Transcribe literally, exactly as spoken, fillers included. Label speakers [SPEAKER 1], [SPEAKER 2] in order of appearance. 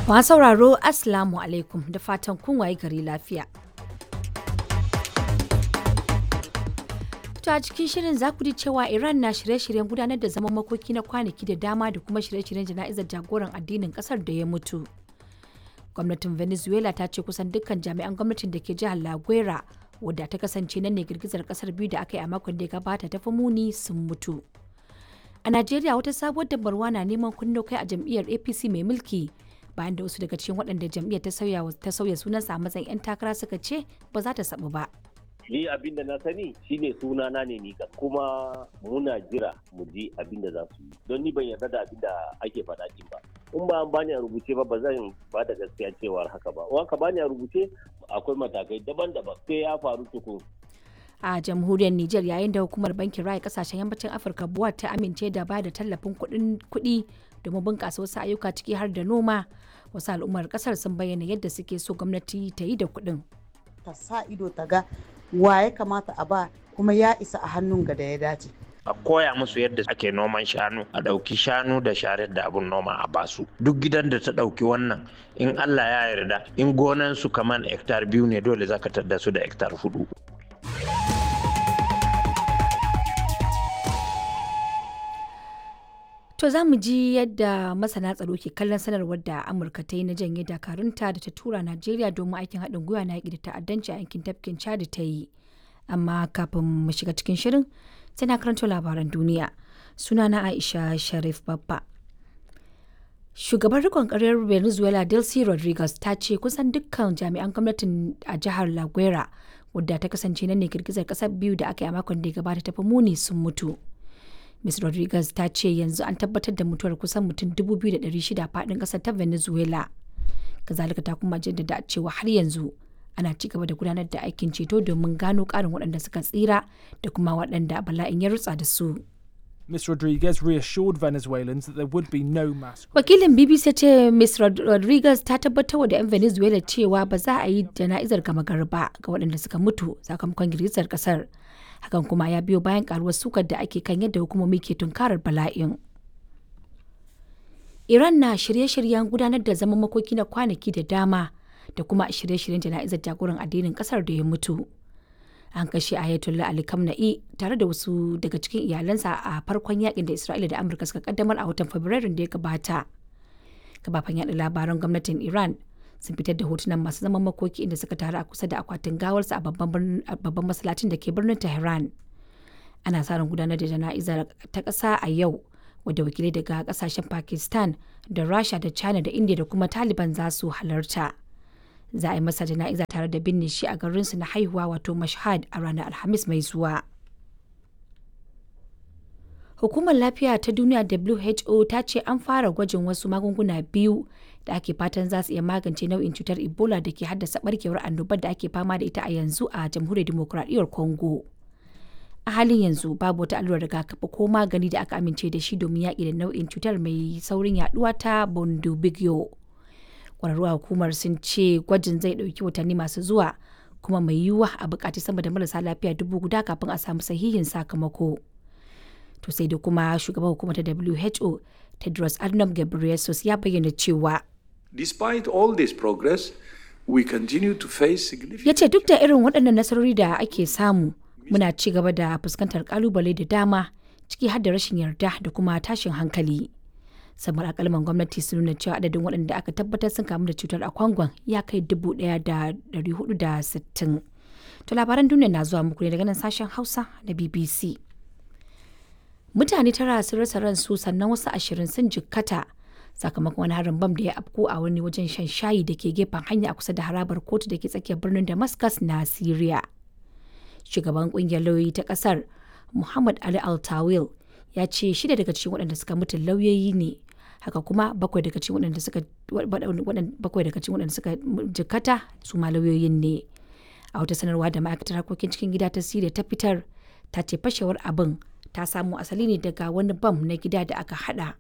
[SPEAKER 1] Masu sauraro, Assalamu alaikum, da fatan kun waye gari lafiya. To, a cikin shirin za ku ji cewa Iran na shirye-shiryen gudanar da zaman makoki na kwanaki da dama da kuma shirye-shiryen jana'izar jagoran addinin kasar da ya mutu. Gwamnatin Venezuela ta ce kusan dukkan jami'an gwamnatin da ke jihar La Guera, wadda ta kasance nan ne girgizar kasar biyu da aka yi a makon da ya gabata ta fi muni, sun mutu. A Najeriya, wata sabuwar dabarwa na neman kunno kai a jam'iyyar A P C mai mulki, bayan da wasu daga cikin waɗanda jam'iyyar ta sauya ta sauya sunansa a matsayin 'yan takara suka ce ba za ta sabu ba.
[SPEAKER 2] Ni abin da na sani shine suna na ne ni, kuma muna jira mu ji abin da za su yi, don ni ban yarda da abin da ake faɗa din ba. In ba an bani a rubuce ba, ba zan ba da gaskiya cewar haka ba. In ka bani a rubuce, akwai matakai daban-daban sai ya faru tukun.
[SPEAKER 1] A jamhuriyar Nijar, yayin da hukumar bankin raya kasashen yammacin Afirka BUA ta amince da ba da tallafin kuɗi domin bunƙasa wasu ayyuka, ciki har da noma, wasu al'ummar ƙasar sun bayyana yadda suke so gwamnati ta yi da kuɗin.
[SPEAKER 3] Ta sa ido ta ga wa ya kamata a ba, kuma ya isa a hannun ga da ya dace.
[SPEAKER 4] A koya musu yadda ake noman shanu, a ɗauki shanu da sharar da abun noma a basu. Duk gidan da ta ɗauki wannan, in Allah ya yarda, in gonan su kaman hektar biyu ne, dole zaka tadda su da hektar hudu.
[SPEAKER 1] To, za mu ji yadda masana tsaro ke kallon sanarwar da Amurka ta yi na janye dakarunta da ta tura Najeriya domin aikin haɗin gwiwa na yaƙi da ta'addanci a yankin tafkin Chad ta yi. Amma kafin mu shiga cikin shirin, sai na karanto labaran duniya. Sunana Aisha Sharif Babba. Shugaban rikon ƙaryar Venezuela Delcy Rodriguez ta ce kusan dukkan jami'an gwamnatin a jihar La Guera, wadda ta kasance nan ne girgizar ƙasar biyu da aka yi a makon da ya gabata ta fi muni, sun mutu. Miz Rodriguez ta ce yanzu an tabbatar da mutuwar kusan mutum dubu biyu da ɗari shida faɗin ƙasar ta Venezuela. Kazalika ta kuma jaddada cewa har yanzu ana ci gaba da gudanar da aikin ceto domin gano ƙarin waɗanda suka tsira da kuma waɗanda bala'in ya rutsa da su.
[SPEAKER 5] Miz Rodriguez reassured Venezuelans that there would be no mass.
[SPEAKER 1] Wakilin B B C ce Miz Rodriguez ta tabbatar da 'yan Venezuela cewa ba za a yi jana'izar gama gari ba ga waɗanda suka mutu sakamakon girgizar ƙasar. Hakan kuma ya biyo bayan karuwar sukar da ake kan yadda hukumomi ke tunkarar bala'in. Iran na shirye-shiryen gudanar da zaman makoki na kwanaki da dama da kuma shirye-shiryen jana'izar jagoran addinin kasar da ya mutu. An kashe Ayatollah Ali Khamenei tare da wasu daga cikin iyalansa a farkon yakin da Isra'ila da Amurka suka kaddamar a watan Fabrairun da ya gabata. Kafafen yaɗa labaran gwamnatin Iran sun fitar da hotunan masu zaman makoki inda suka taru a kusa da akwatin gawarsa a babban masallacin da ke birnin Tehran. Ana sa ran gudanar da jana'izar ta ƙasa a yau, wadda wakilai daga kasashen Pakistan da Rasha da China da India da kuma Taliban za su halarta. Za a yi masa jana'iza tare da binne shi a garinsu na haihuwa, wato Mashhad, a ranar Alhamis mai zuwa. Hukumar Lafiya ta Duniya W H O ta ce an fara gwajin wasu magunguna biyu da ake fatan za su iya magance nau'in cutar Ebola da ke haddasa barkewar annobar da ake fama da ita a yanzu a Jamhuriyar Dimokuraɗiyyar Congo. A halin yanzu babu wata allurar rigakafi ko magani da aka amince da shi domin yaƙi da nau'in cutar mai saurin yaduwa ta Bundibugyo. Kwararru a hukumar sun ce gwajin zai ɗauki watanni masu zuwa, kuma mai yiwuwa a buƙaci sama da marasa lafiya dubu guda kafin a samu sahihin sakamako. To, sai da kuma shugaban hukumar ta W H O Tedros Adhanom Ghebreyesus ya bayyana cewa
[SPEAKER 6] Despite all this progress, we continue to face significant
[SPEAKER 1] Ya ce duk da irin waɗannan nasarori da ake samu, muna ci gaba da fuskantar kalubale da dama, ciki har da rashin yarda da kuma tashin hankali. Samar alƙalman gwamnati sun nuna cewa adadin waɗanda aka tabbatar sun kamu da cutar a Kwangon ya kai dubu ɗaya da ɗari hudu da sittin. To, labaran duniya na zuwa muku ne daga nan sashen Hausa na B B C. Mutane tara sun rasa ransu sannan wasu ashirin sun jikkata sakamakon wani harin bam da ya afko a wani wajen shan shayi da ke gefen hanya a kusa da harabar kotu da ke tsakiyar birnin Damascus na Syria. Shugaban kungiyar lauyoyi ta kasar, Muhammad Ali Altawil, ya ce shida daga cikin waɗanda suka mutu lauyoyi ne. Haka kuma bakwai daga cikin waɗanda suka bakwai daga cikin waɗanda suka jikkata su ma lauyoyin ne. A wata sanarwa da ma'aikatar harkokin cikin gida ta Syria ta fitar, ta ce fashewar abin ta samo asali ne daga wani bam na gida da aka hada.